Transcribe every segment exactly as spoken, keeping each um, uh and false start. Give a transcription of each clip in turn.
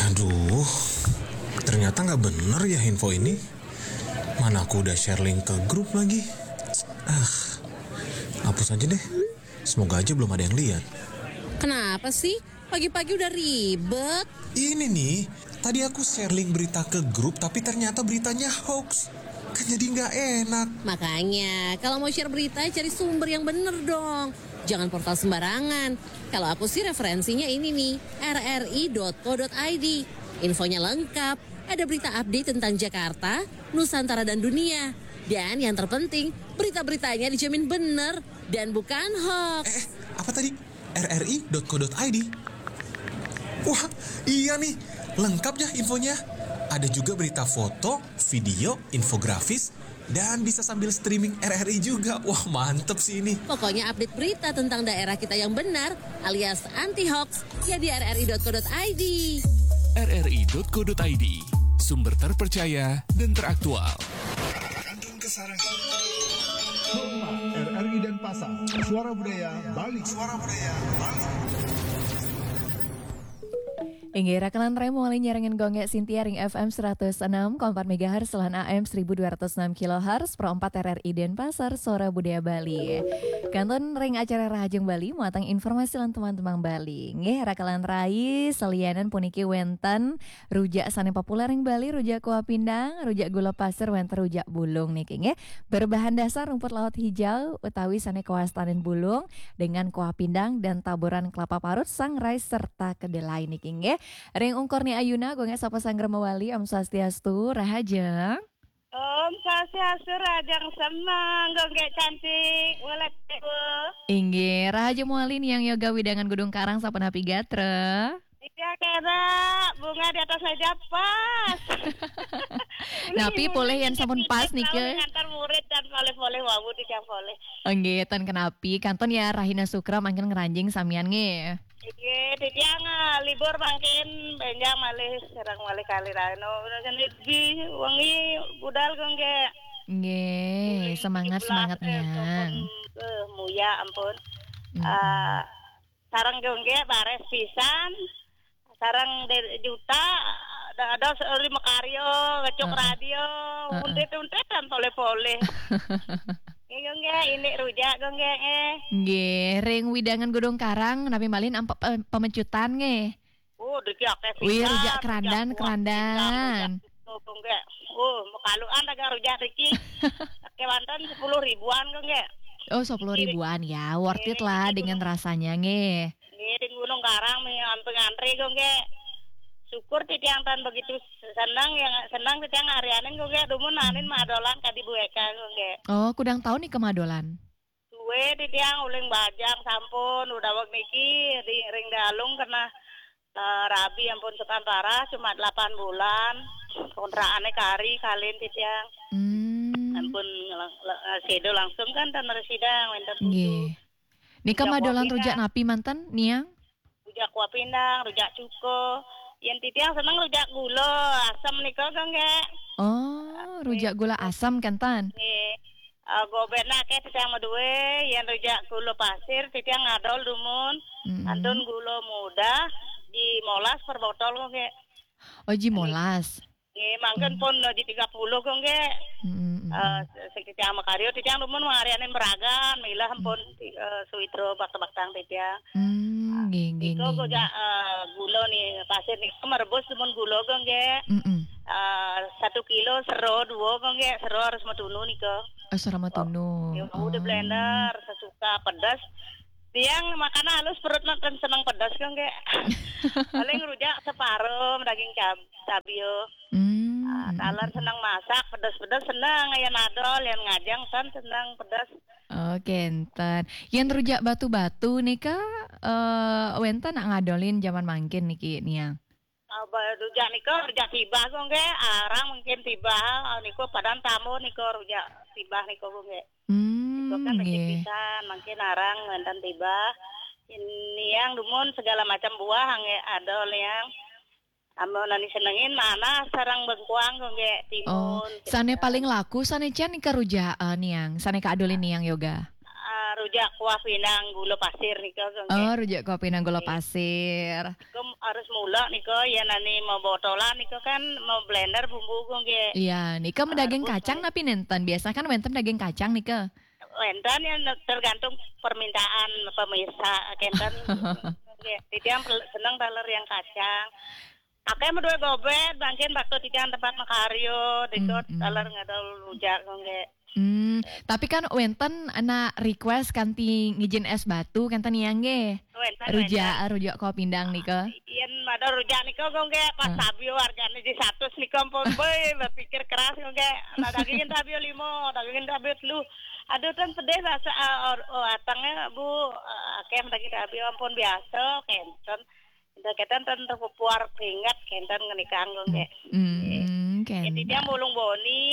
Aduh, ternyata nggak bener ya info ini. Mana aku udah share link ke grup lagi. Ah, hapus aja deh. Semoga aja belum ada yang lihat. Kenapa sih? Pagi-pagi udah ribet. Ini nih, tadi aku share link berita ke grup, tapi ternyata beritanya hoax. Kan jadi nggak enak. Makanya, kalau mau share berita, cari sumber yang bener dong. Jangan portal sembarangan. Kalau aku sih referensinya ini nih, R R I dot co dot I D. Infonya lengkap, ada berita update tentang Jakarta, Nusantara dan dunia. Dan yang terpenting, berita-beritanya dijamin bener dan bukan hoax. Eh, eh, apa tadi? R R I dot co dot I D. Wah, iya nih, lengkap ya infonya. Ada juga berita foto, video, infografis, dan bisa sambil streaming R R I juga. Wah, mantep sih ini. Pokoknya update berita tentang daerah kita yang benar alias anti hoax ya di R R I dot co dot I D. R R I dot co dot I D, sumber terpercaya dan teraktual. Kantun Kesarangan. Hotma, R R I Denpasar, Suara Budaya Bali. Suara Budaya Bali. Inggih, rakelan rai mawali nyarengin Gung Gek Sintia ring F M seratus enam koma empat megahertz lan A M seribu dua ratus enam kilohertz, Pro empat R R I Denpasar, Suara Budaya Bali. Kantun ring acara Rahajeng Bali, muatang informasi lan teman-teman Bali. Nggih, rakelan rai, salianan puniki wenten rujak sane populer ring Bali, rujak kuah pindang, rujak gula pasir, wenten rujak bulung niki nggih. Berbahan dasar rumput laut hijau utawi sane kawastanin bulung dengan kuah pindang dan taburan kelapa parut, sangrai serta kedelai niki nggih. Ring ungkur ni ayuna, Gung Gek sapa sanggra mawali, Om Swastiastu, rahaja. Om Swastiastu, rahajeng semeng, Gung Gek cantik, welet dewa. Inggih, rahaja mawali Niang Yoga wewidangan Gunung Karang, sapunapi gatra? Iya, kena bunga di atas meja pas. Napi polih yen sampun pas nika? Ngantar murid dan polih-polih wau di yang polih. Nggih, ten kenapi. Kantun ya rahina Sukra mangkin ngranjing samian nggih. Nggih, titiang, eh, libur mangkin benjang malih sareng malih kalih rahina. Udah seni lebih wengi budal, Gung Gek. Nggih, semangat, semangat, eh, Niang. Sampun, eh, muya ampun. Mm-mm. Eh, sareng Gung Gek bares pisan. Sareng De-, Juta, ada, ada lima karya, ngecuk radio, heeh, untit-untit dan poleh-poleh. Nggih, Gung Gek, ini rujak, Gung Gek, eh. Nggih, ring wewidangan Gunung Karang, napi malih ampe pe-, pemecutan nggih. Oh, driki akeh pisan. Wih, rujak kerandan, rujak kuah, kerandan. Rujak itu, Gung Gek. Oh, mekaluan dagang rujak driki. Kewanten sepuluh ribuan, Gung Gek. Oh, sepuluh ribuan ya, worth it lah dengan rasanya nggih. Nggih, di Gunung Karang mi ampun ngantri, Gung Gek. Syukur titiang tan begitu senang, yang senang titiang arianin, Gung Gek. Dumun anin madolan kadi Bu Eka, Gung Gek. Oh, kudang taun nika madolan? Duwe titiang uling bajang sampun, udah wek niki di ring dalung kena, eh, rabi ampun sukan parah, cuma delapan bulan. Kontrakane kari kalin titiang. Hmm. Ampun lang-, la-, sedo langsung kan tan resida wenten putu. Nggih. Nika madolan rujak napi manten, Niang? Rujak kuah pindang, rujak cuko. Yen titiang seneng rujak gula asem nika, Gung Gek. Oh, rujak gula asem kenten. Nggih. Eh, gobekna akeh titiang maduwe, yen rujak gula pasir titiang ngadol dumun. Mm-mm. Kantun gula muda, ji molas per botol, Gung Gek. Oh, ji molas. Nggih, mangkin pun di tiga puluh, Gung Gek. Mm-mm. Eh, sing titiang makarya, titiang dumun mangarianin meragan, milah pun, eh, suwitra bakta-baktang titiang. Hmm, nggih, nggih, nggih. Nika, eh, gula ni, pasir nika merebus dumun gula, Gung Gek. Mm-mm. Eh, satu kilo sero dua, Gung Gek, sero harus matunu nika. Oh, sero matunu. Oh, ya, udah blender, sesuka pedas. Tiang makan halus perut makan seneng pedas, Gung Gek. Paling rujak separuh daging cab-, cabe. Hmm. Ah, taler seneng masak, pedes-pedes seneng, yen adol, yen ngajeng tan seneng pedes. Oh, kenten. Yen rujak batu-batu nika, eh, wenten nak ngadolin jaman mangkin niki, Niang? Ah, ba-, rujak nika, rujak tibah, Gung Gek. Arang mungkin tibah, ah, niku padan tamu niku rujak tibah niku, Gung Gek. Hmm, niku kan becik nggih. Pisan, mangkin arang wenten tibah. Niang dumun segala macam buah, nggih, adol, Niang. Amun ane senengin manah sareng bengkuang, Gung Gek, timun. Oh, sane paling laku sane cen nika rujak, eh, Niang. Sane kaadolin Niang Yoga. Ah, Rujak kuah pinang gula pasir nika, Gung, nggih. Oh, rujak kuah pinang gula pasir. Nika harus mula nika, yen ane mau botolan nika kan mau blender bumbu, Gung, nggih. Iya, nika medaging kacang napi nenten? Biasa kan wenten daging kacang nika. Wenten, yen tergantung permintaan pemirsa, kenten. Nggih, titiang pel-, seneng taler yang kacang. Akeh meduwe gobet, mangkin waktu titiang tempat makarya, nika taler ngadol rujak, nggih. Hmm, tapi kan wenten anak request kanti ngijin es batu, kenten ya, nggih? Wenten, rujak, wenten. Rujak kuah pinang nika. Yen madol rujak nika, Gung, nggih, pas tabiya hargane di satus nika ampun, boy, berpikir keras, Gung, nggih. Nah, dagingin tabiya lima, dagingin tabiya telu. Aduh, ten pedih rasa, ah, or-, oh, atangnya, Bu, ah, akeh daging tabiya ampun biasa, kenten. Ndak kenten ten terpupuar keringat, kenten ngenikang, Gung, nggih. Hmm, kenten. Jadi dia mulung boni,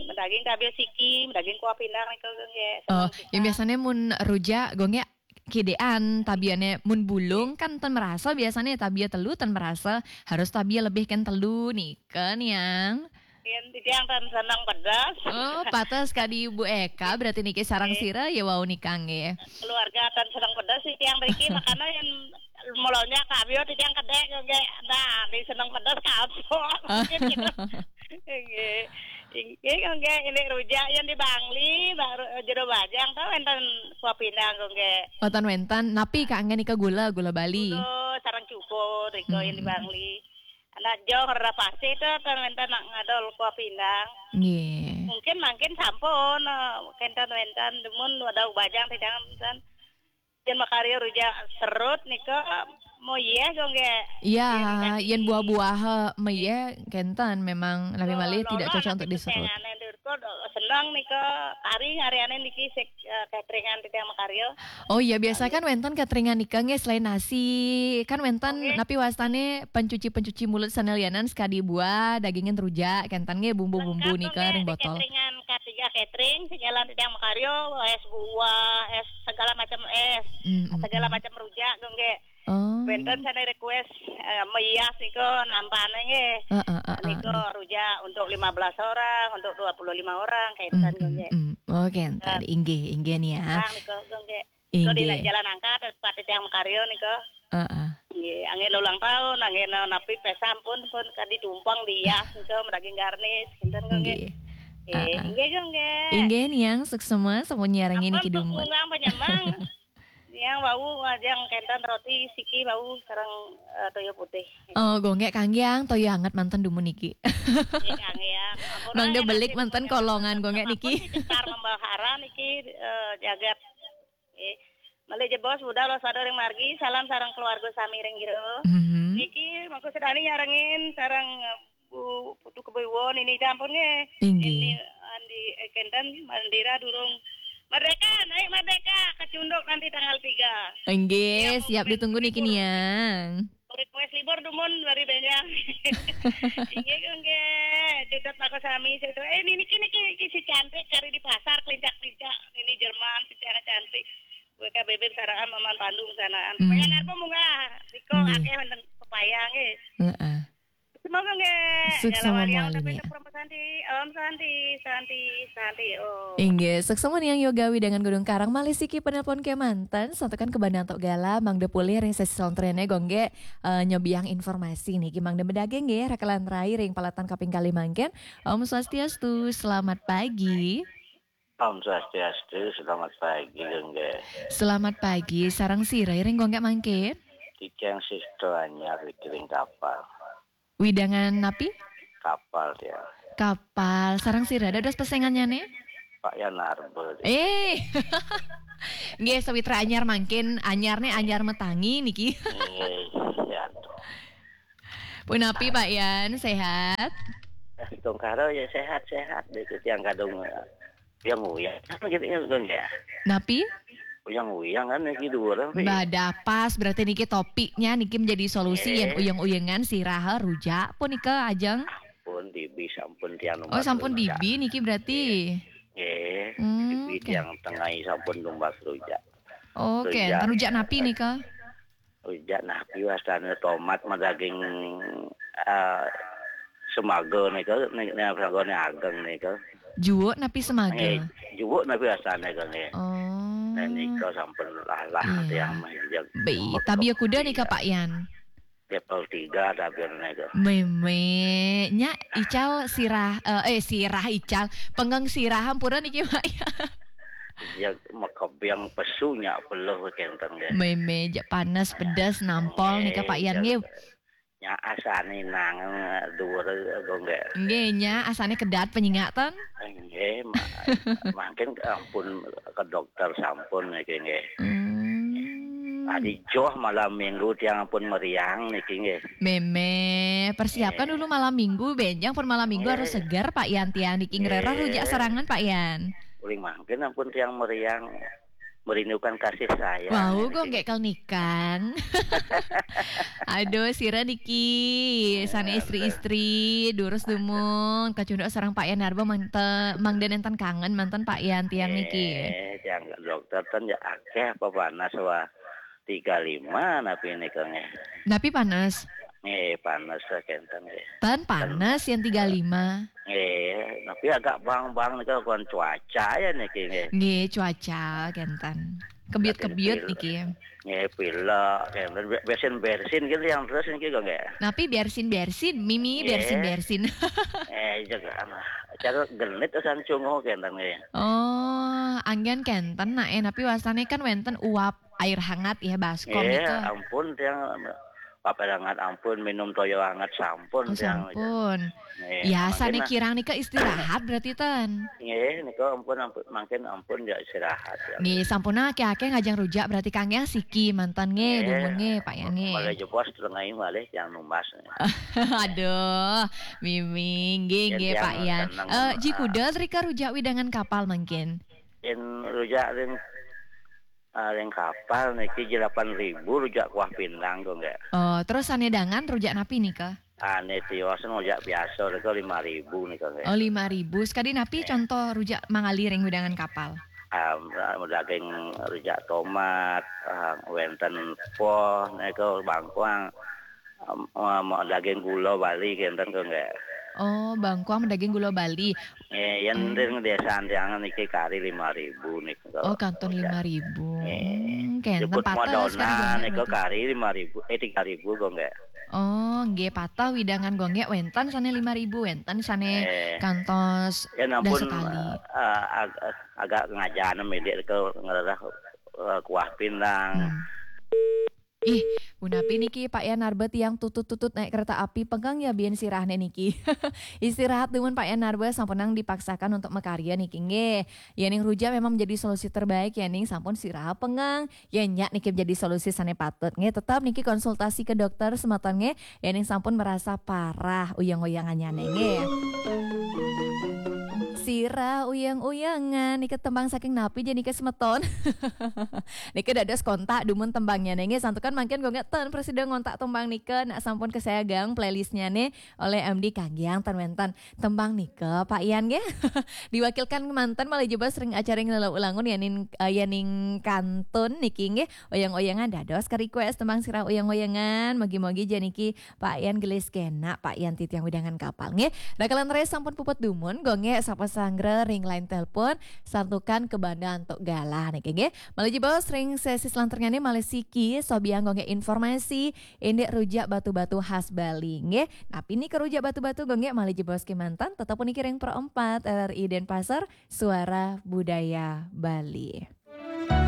medaging tabiya siki, medaging kuah pinang nika, Gung, nggih. Oh, seneng yang kita. Biasanya mun rujak, Gung, nggih, kidean tabiane, mun bulung kan ten merasa, biasanya tabiya telu ten merasa, harus tabiya lebih kan telu nika, Niang. Yen titiang ten seneng pedes. Oh, pates kadi Ibu Eka, berarti niki sareng sira ya wau nika nggih. Keluarga ten seneng pedes titiang mriki, makanya yen mulanya tabiya titiang kedek nggih. Nah, di seneng pedes kapok. Mungkin gitu. Nggih. Nggih, nggih, ini rujak yen di Bangli, baru, eh, jero bajang to wenten kuah pinang, nggih. Wonten, wenten. Napi kangge nika gula, gula Bali? Gula sareng cukur nika yen di Bangli. Anak jong rera pasti to ten wenten nak ngadol kuah pinang. Nggih. Mungkin mangkin sampun, eh, kenten wenten dumun wadau bajang titiang ten. Yen makarya rujak serut nika, moyeh, Gung, nggih. Iya, yen buah-buah, eh, meyeh kenten memang lebih malih tidak cocok untuk diserut. Seneng nika, kari ngariane niki sik, eh, cateringan titiang makarya. Oh iya, biasa kan wenten cateringan nika nggih selain nasi. Kan wenten napi wastane pencuci-pencuci mulut sanelianan sekadi buah, dagingin rujak, kenten nggih bumbu-bumbu nika ring botol. Cateringan K tiga Catering, sing jalan titiang makarya, es buah, es segala macam es, segala macam rujak, Gung, nggih. Oh. Wenten sane request, eh, meyas nika nampane nggih. Heeh, heeh. Nika rujak untuk lima belas orang, untuk dua puluh lima orang, kenten, Gung, nggih. Oh, kenten. Inggih, inggih, Niang. Bang, nika, Gung, nggih. Nika di jalan angkat, tempat titiang makarya nika. Heeh. Nggih, angin ulang tahun, angin napi pesta pun, pun kadi tumpeng dias nika, medaging garnis, kenten, Gung, nggih. Nggih, heeh. Inggih, Gung, nggih. Inggih, Niang, suksema sampun nyarengin niki dumun. Ampun, Gung, penyemang. Niang wau ajeng kenten roti siki wau sareng, eh, toya putih. Oh, Gung, nggih, kangge, Niang, toya anget manten dumun niki. Nggih, kangge, Niang. Ampun, mangda belik manten kolongan, Gung, nggih, niki. Ampun, si Cekar Membahara niki, eh, jagat. Nggih. Malih jebos budal waspada ring margi, salam sareng keluarga sami ring jero. Mhm. Niki mangku sedani nyarengin sareng, eh, Bu Putu Kebo Iwon ini sampun nggih. Inggih. Ini Andi, eh, kenten Mandira durung merdeka, naik merdeka, kecunduk nanti tanggal tiga. Inggih, iya, siap ditunggu niki, Niang. Request libur dumun bari benjang. Inggih, nggih. Cutet mako sami situ. Eh, ini niki, niki, niki si cantik kari di pasar, kelincak-kelincak. Ini Jerman, si cantik cantik. Gue ka bebek saraan maman Pandu sanaan. Hmm. Pengen apa munggah? Niko akeh wonten pepaya nggih. Heeh. Semoga nggih. Suksema malih, Niang. Promo Santi, Om Santi, Santi, Santi, Om. Inggih, suksema Niang Yoga Widangan Gunung Karang, malih siki penelpon kemanten, santukan kebandang tok gala, mangda pulih ring sesi salanturnyané, Gung, nggih, eh, nyobiang informasi niki, mangda medaging nggih, rakelan rai ring paletan kaping kalih mangkin. Om Swastiastu, selamat pagi. Om Swastiastu, selamat pagi, Gung, nggih. Selamat pagi, sareng sira ring, Gung, nggih, mangkin? Titiang Sisto Anyar, ring Kapal. Widangan napi? Kapal, ya. Kapal. Sareng sira dados pesengannyané? Pak Yan Arbel. Eh. Nggih, sawitra anyar mangkin, anyarné anyar matangi niki. Nggih, ya. Punapi, Pak Yan, sehat? Tongkaro ya sehat-sehat deh, titiang kadung, eh, yang uyang. Apa gitu ya, Gung, ya? Napi? Uyang-uyang kan niki dua orang, Pi. Bah, dah pas, berarti niki topiknya niki menjadi solusi, eh, yen uyang-uyangan sira rujak punika, ajeng? Pun dibi sampun tiang. Oh, sampun rujak. Dibi niki berarti. Nggih. Hmm, dibi oke. Tiang tengahi sampun tumbas rujak. Oke, rujak. Rujak napi nika? Rujak napi wastane, tomat madaging, eh, semaga nika, nika, nika sagane ageng nika. Juwuk napi semaga? Eh, juwuk napi wastane, Gung, nggih. Oh. Nah, nika sampun lalah. Iya. Tiang mah, ya. Baik, tabia kuda nika, Pak Yan? Level tiga tabia nika. Mémé, nya ical sirah, eh, eh, sirah ical, pengeng sirah ampura niki, Pak Yan? Ya, makebeng pesu nya peluh kenten, nggih. Mémé, jak panas, pedas, nampol nika, Pak Yan, nggih. Nya asane nang dhuwur, nggih. Nggih, nya asane kedat penyingak ten. Nggih, mangkin ampun ke dokter sampun niki, nggih. Hmm. Tadi joh malam minggu tiang ampun meriang niki, nggih. Mémé, persiapkan dulu malam minggu, benjang pun malam minggu harus segar, Pak Yan, tiang niki ngrereh rujak serangan, Pak Yan. Uling mangkin ampun tiang meriang. Merindukan kasih sayang. Wau, kok nggih kelnikan. Aduh, sira niki, sana istri-istri, durus dumun, kacunduk sareng Pak Yan Narba, mangda nenten kangen manten Pak Yan tiang niki. Eh, tiang dokter ten ya akeh apa panas wah tiga lima napi nika nggih. Napi panas? Nggih, panas kenten nggih. Ten panas yang tiga lima. Nggih, tapi agak bang-bang nika kon cuaca ya niki nggih. Nggih, cuaca kenten. Kebiut-kebiut niki. Nggih, pilek kenten. Bersin-bersin gitu yang terus niki kok nggih. Napi bersin-bersin, mimi bersin-bersin. Eh, jaga anak. Cara genit asan cunguh kenten nggih. Oh, anggen kenten nak eh, tapi wasane kan wenten uap air hangat ya baskom. Iya, ampun tiang paper hangat ampun, minum toyo hangat sampun. Oh, sampun. Ya, sana kirang nika istirahat berarti ten. Nggih, nika ampun ampun mangkin ampun ya istirahat. Ya. Nggih, sampun akeh-akeh ngajeng rujak berarti Kang ya siki mantan nggih dumun nggih Pak ya nggih. Malah jebos tengah malih yang numbas. Aduh, miming nggih nggih Pak ya. Eh, jikuda rika rujak widangan kapal mangkin. In rujak ring Ah, ring kapal niki delapan ribu rujak kuah pindang kok nggih. Oh, terus sane dangan rujak napi nika? Ane tios rujak biasa nika lima ribu nika nggih. Oh, lima ribu. Sekadi napi contoh rujak mangali ring wedangan kapal? Ah, daging rujak tomat, ah, wenten poh nika bangkuang, ah, daging gula Bali kenten kok nggih. Oh, bangkuang daging gula Bali. Eh, yen ring desa Antiangan niki kari lima ribu niku. Oh, kantun lima ribu. Hmm, kenten patah sekali niku kari lima ribu, eh tiga ribu kok nggih. Oh, nggih patah widangan gonggek wenten sane lima ribu, wenten sane eh. Kantos yen ampun sekali. Uh, ag agak ngajana milik ke ngererah uh, kuah pindang. Hmm. Ih, punapi niki Pak Yan Narba tiang tutut-tutut naik kereta api pengkeng ya bien sirahne niki. Istirahat dumun Pak Yan Narba sampunang dipaksakan untuk makarya niki nggih. Yening rujak memang menjadi solusi terbaik yening sampun sirah pengkeng. Yen nyak niki menjadi solusi sane patut nggih. Tetap niki konsultasi ke dokter semeton nggih. Yening sampun merasa parah uyang-uyangannya nggih. Sirah uyang-uyangan niki tembang saking napi je niki semeton. Nika dados kontak dumun tembangnya nggih santukan mangkin gonggek ten presida ngontak tembang nika nak sampun kesayagang playlistnya nih oleh M D Kagiang ten wenten tembang nika Pak Yan nggih. Diwakilkan manten malih jebos ring acara ngelela ulangun yaning uh, yaning kantun niki nggih oyang-oyangan dados ke request tembang sirah oyang-oyangan mogi-mogi je niki Pak Yan gelis kena Pak Yan titiang wedangan kapal nggih. Rakalan res sampun puput dumun gonggek sapa sanggra ring line telepon santukan ke banda antuk galah niki nggih. Malih jebos ring sesi selanturnya nih malih siki sobiang gonggek informasi indik rujak batu-batu khas Bali nggih. Napi nika rujak batu-batu gonggek malih jebos kemantan tetap puniki ring Pro empat R R I Denpasar Suara Budaya Bali.